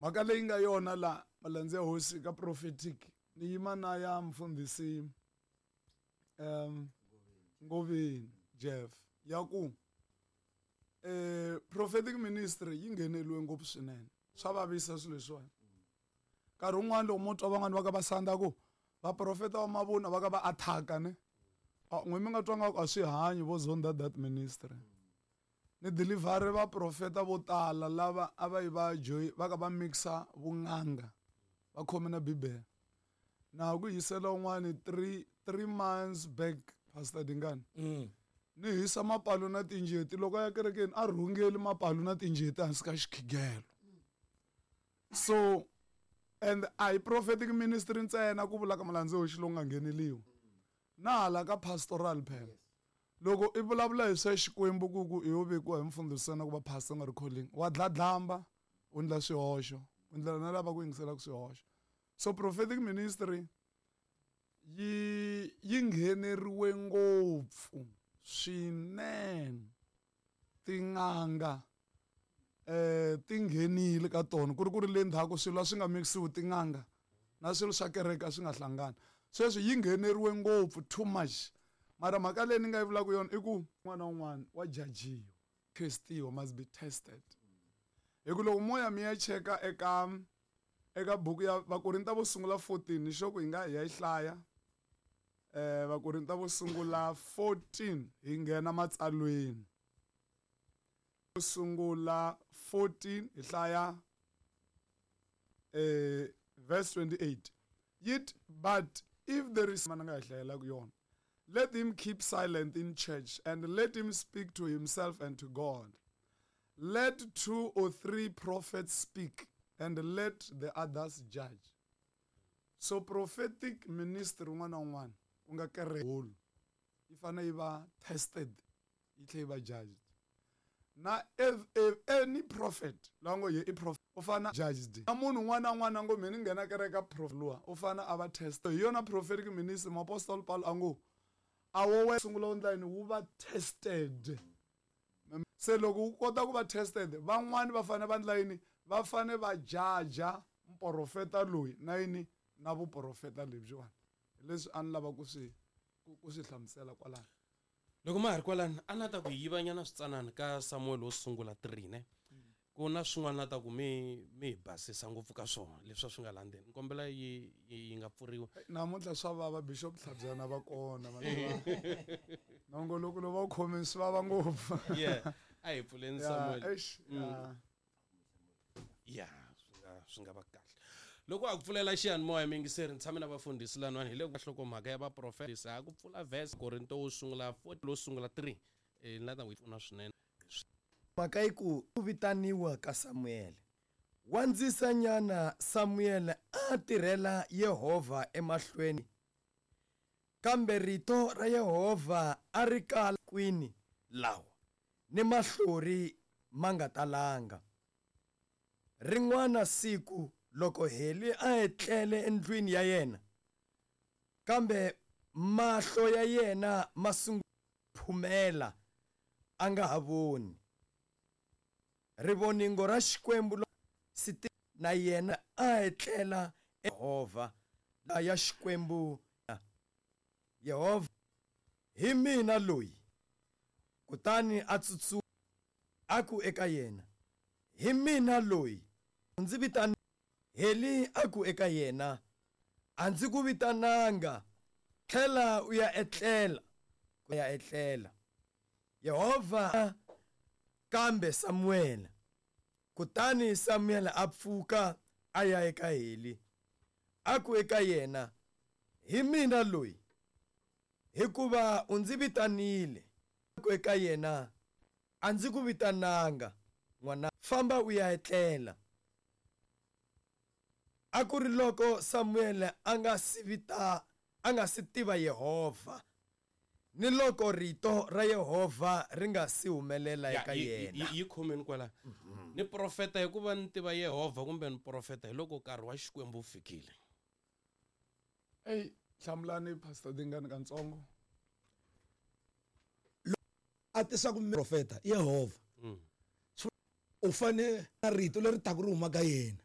Mhaka leyi nga yona la malandza ya hosi ka prophetic ni yima na ya mfundhisi Ngoveni Jeff ya ku prophetic ministry yi ngheneliwe ngopfu swinene swa vavisa swilo leswiwani nkarhi wun'wani loko mo twa van'wani va ka va sandza ku vaprofeta va mavunwa va ka va attack-a ne n'we mi nga twa nga ku a swi hanyi vo zonda that ministry ni deliver vaprofeta vo tala lava a va yi va joy va ka va mixa vun'anga va khome na bibele na ha ku hisela un'wani 3 months back pastor Dingani ni hisa mapalu na tinjeti loko a ya kerekeni a rhungeli mapalu na tinjeti hansi ka xikhigelo so and a hi prophetic ministry ntsena ku vula ka malandza hoxi lowu nga ngheneliwa na hala ka pastoral phela loko i vulavula hi swa xikwembu ku ku i yo vekiwa hi mfundhisi ntsena ku va pastor nga ri calling wa dladlamba u ndla swihoxo u ndlela na lava ku yingiselaka swihoxo so prophetic ministry yi yi ngheneriwe ngopfu swinene tin'anga ti nghenile ka tona ku ri ku ri le ndzhaku swilo a swi nga mikisiwi tin'anga na swilo swa kereke a swi nga hlangani sweswi yi ngheneriwe ngopfu too much mara mhaka leyi ni nga yi vulaka yona i ku un'wana na un'wana wa jajiwa testiwa must be tested hi ku loko moya mi ya cheka eka eka buku ya Vakorinta vo sungula 14 ni sure ku hi nga hi ya yi hlaya Vakorinta vo sungula 14 hi nghena matsalweni sungula 14 hi hlaya verse 28 yit but if there is mana nga hi hlayelaka yona let him keep silent in church and let him speak to himself and to God let 2 or 3 prophets speak and let the others judge so prophetic ministry un'wana na un'wana ku nga kereke holo yi fanele yi va tested yi tlhela yi va judged na if, if any prophet loyi ngo ye i prophet u fana judged na munhu un'wana na un'wana a ngo mina ni nghena kereke prophet luwa u fana a va test hi yona prophetic ministry muapostoli Paulo a ngo a wo we sungula u ndla yini wu va tested se loko wu kota ku va tested van'wani va fanele va ndla yini va fanele va jaja muprofeta loyi na yini na vuprofeta lebyiwani hi leswi a ni lava ku swi ku swi hlamusela kwalano loko ma ha ri kwalano a na ta ku yivanyana switsanana ka Samuel wo sungula 3 ne ku na swin'wana na ta ku mi mi hi basisa ngopfu ka swona leswi a swi nga landzeni ni kombela yi yi nga pfuriwa namuntlha swa vava bishop Tlhabyana va kona nongoloko lowu va wu khomeni swi vava ngopfu yeah a hi pfuleni Samuel eish yeah. ya swi nga va kahle loko a ku pfulela xiyanimoya miyingiseri ni tshame na vafundhisi lanwani hi le nhlokomhaka ya vaprofeta ha ku pfula verse Korinto wo sungula 4 lowo sungula 3 ni la ta n'wi pfuna swinene Mhaka yi ku ku vitaniwa ka Samuele. Wandzisanyana Samuele a tirhela Yehovha emahlweni, kambe rito ra Yehovha a ri kala kwini lawa ni mahlori ma nga talanga. Rin'wana siku loko Heli a etlele endlwini ya yena, kambe mahlo ya yena ma sungula phumela, a nga ha voni. Rivoningo ra Xikwembu na yena a etlela Yehovha ya Xikwembu Yehovha hi mina loyi. Kutani a tsutsuma a ku eka yena, Hi mina loyi, u ndzi vitana. Heli a ku eka yena, A ndzi ku vitananga, tlhela u ya etlela. Ya etlela. Yehovha kambe Samuele. Kutani Samuele a pfuka a ya eka Heli. A ku eka yena, Hi mina loyi, hikuva u ndzi vitanile. A ku eka yena, A ndzi ku vitananga, n'wana, famba u ya etlela. A ku ri loko Samuele a nga si vita, a nga si tiva Yehovha, ni loko rito ra Yehovha ri nga si humelela eka yena. Yi khomeni kwala. Ni profeta hikuva ni tiva Yehovha kumbe ni profeta hi loko nkarhi wa Xikwembu wu fikile. Eyi hlamulani Pastor Dingani kantsongo. A tisa ku profeta Yehovha. U fane na rito leri taka ri huma ka yena.